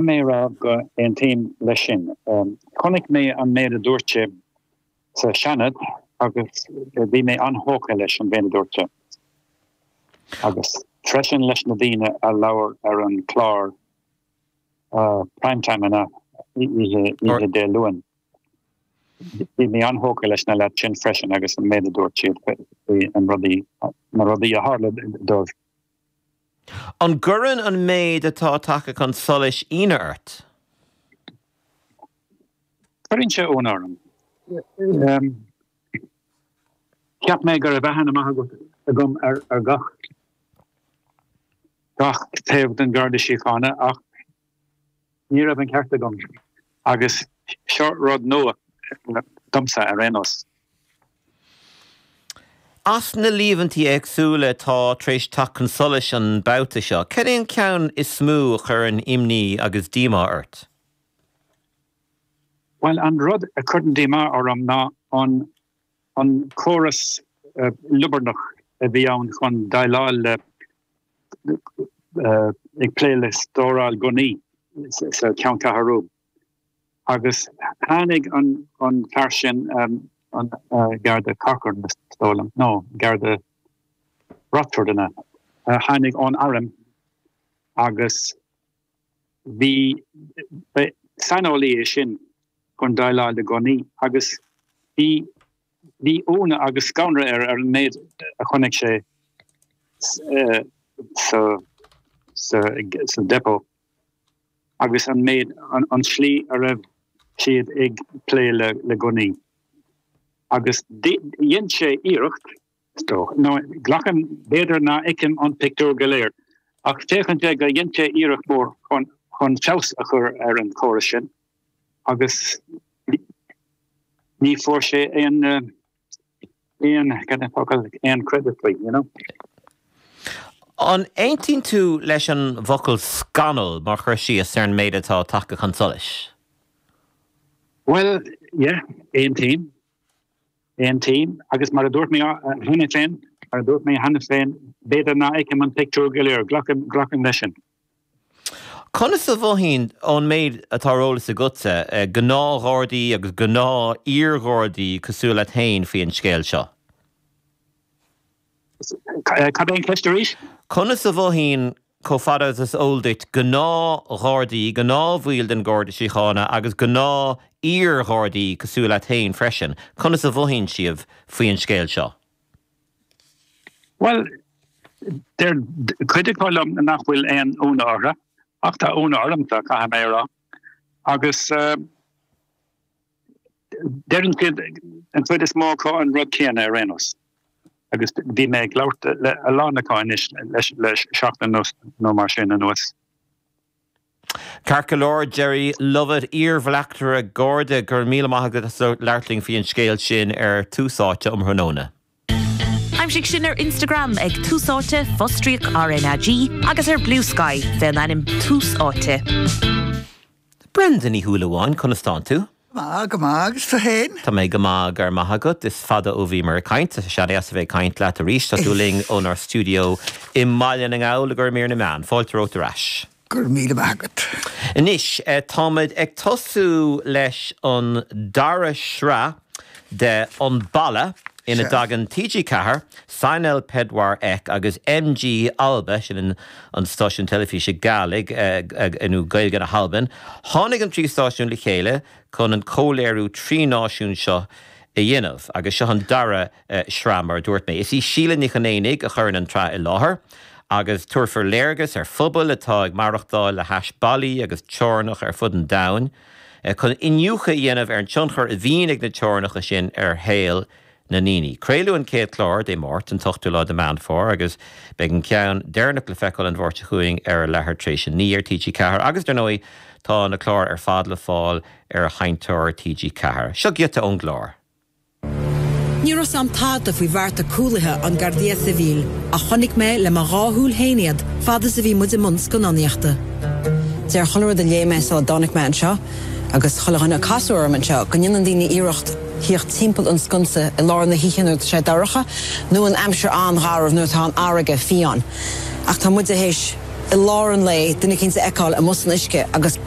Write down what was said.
mé a rá go aontaím leis sin. Chonaic mé an méid a dúirt sé sa Seanad agus bhí mé an-thógtha leis an mhéid a dúirt sé. Agus freisin leis na daoine a labhair ar an chlár Prime Time an oíche Dé Luain. Bhí mé an-thógtha leis na leaids sin freisin agus an méid a dúirt siad faoi an rudaí, na rudaí a tharla dóibh. An gcuireann an méid atá tagtha chun solais ionadh ort? Cuireann sé ionadh orm. Cheap mé go raibh aithne maith agam ar gach gach taobh den Gharda Síochána ach ní raibh an ceart agam agus seo rud nua domsa ar aon nós. As na líomhaintí éagsúla atá tar éis teacht chun solais an babhta seo, cad é an ceann is mó a chuireann imní agus díomá ort? Bhuel, an rud a chuireann díomá orm ná an an córas liobarnach a bhí ann chun déileáil le ag plé le stóráil gunnaí sa cheanncheathrú. Agus tháinig an fear sin, an Garda Corcoran is dóigh liom, nó Garda Rochford an ea, tháinig ón arm agus bhí, saineolaí é sin chun déileáil le gunnaí agus bhí, Bhí ionadh agus scanradh air ar an méid a chonaic sé sa depot agus an méid, an tslí a raibh siad ag plé le gunnaí. Agus dhein sé iarracht, is dócha, nó glacaim, b'fhéidir ná fheicim an pictiúr go léir, ach féachann sé go dhein sé iarracht mhór chun feabhas a chur ar an chóras sin agus ní fuair sé aon, aon, cad é an focal, aon credit faoi, you know. An aontaíonn tú leis an bhfocal scannal mar chur síos ar an méid atá tagtha chun solais? Bhuel, yeah, aontaím. Aontaím. Agus mar a dúirt mé cheana féin, mar a dúirt mé cheana féin, b'fhéidir ná fheicim an pictiúr go léir, glacaim, glacaim leis sin. Conas a mhothaíonn, ón méid atá ar eolas agatsa, gnáth-Ghardaí agus gnáth-iar-Ghardaí cosúil leat féin faoi an scéal seo? Cad é an cheist arís? Conas a mhothaíonn, chomh fada agus is eol duit, gnáth-Ghardaí, gnáthbhaill den Gharda Síochána agus gnáth-iar-Ghardaí cosúil leat féin freisin, conas a mhothaíonn siad faoi an scéal seo? Bhuel, deir cuid acu liom nach bhfuil aon ionadh orthu, ach tá ionadh ormsa, caithfidh mé a rá. Agus deireann siad, an chuid is mó acu, an rud céanna ar aon nós. Agus bhí mé ag labhairt le a lán acu anois le seachtain nó mar sin anuas. Ceart go leor, Gerry Lovett, iar-bhleachtaire Garda, go raibh míle maith agat as labhairt linn faoi an scéal sin ar Tús Áite um thráthnóna. Aimsigh sinn ar Instagram ag Tús Áite, fostríoc RnaG, agus ar Bluesky fén ainm Tús Áite. Brenda Ní Shúilleabháin, conas tánn tú? Go maith, go maith, agus tú féin? Tá mé go maith, go raibh maith agat. Is fada ó bhíomar ag caint, tá sé deas a bheith ag caint leat arís. Tá tú linn ónár stiúideo i mBaile na nGall i gcomhair Mír na Meán. Fáilte romhat ar ais. Go raibh míle maith agat. Anois, táimid ag tosú leis an dara sraith de An Balla ina dtagann TG4, Signal Pedwar Ek agus MG Alba, sin an stáisiún teilifíse Gàidhlig, nó Gaeilge na hAlban. Tháinig an trí stáisiún le chéile chun an comhléiriú trí náisiún seo a dhéanamh agus seo an dara sraith mar a dúirt mé. Is í Síle Nic Chonaonaigh a chuireann an tsraith i láthair agus tabharfar léargas ar phobail atá ag maireachtáil le hais ballaí agus teorainneacha ar fud an domhain chun iniúchadh a dhéanamh ar an tionchar a bhíonn ag na teorainneacha sin ar shaol na ndaoine. Craoladh an chéad chlár Dé Máirt, an t-ochtú lá de Meán Fómhair agus beidh an ceann deireanach le feiceáil an Mháirt seo chugainn ar a leathuair tar éis a 9 ar TG4 agus, dar ndóigh, tá na cláir ar fad le fáil ar sheinnteoir TG4. Seo giota ón gclár. Ní raibh 's a'm tada faoi bhearta cúlaithe an Guardia Civil ach chonaic mé le mo dhá shúil féin iad fad is a bhí muid i mbun scannánaíochta. Deir chuile rud a léigh mé sula dtáinig mé anseo agus chuile dhuine a casadh orm anseo go ndéanann daoine iarracht theacht timpeall an sconsa i lár na hoíche nuair atá sé dorcha nó in aimsir an-gharbh nuair atá an fharraige fiáin. Ach tá muide théis. i lár an lae, duine eicínt a fheiceáil amuigh san uisce agus.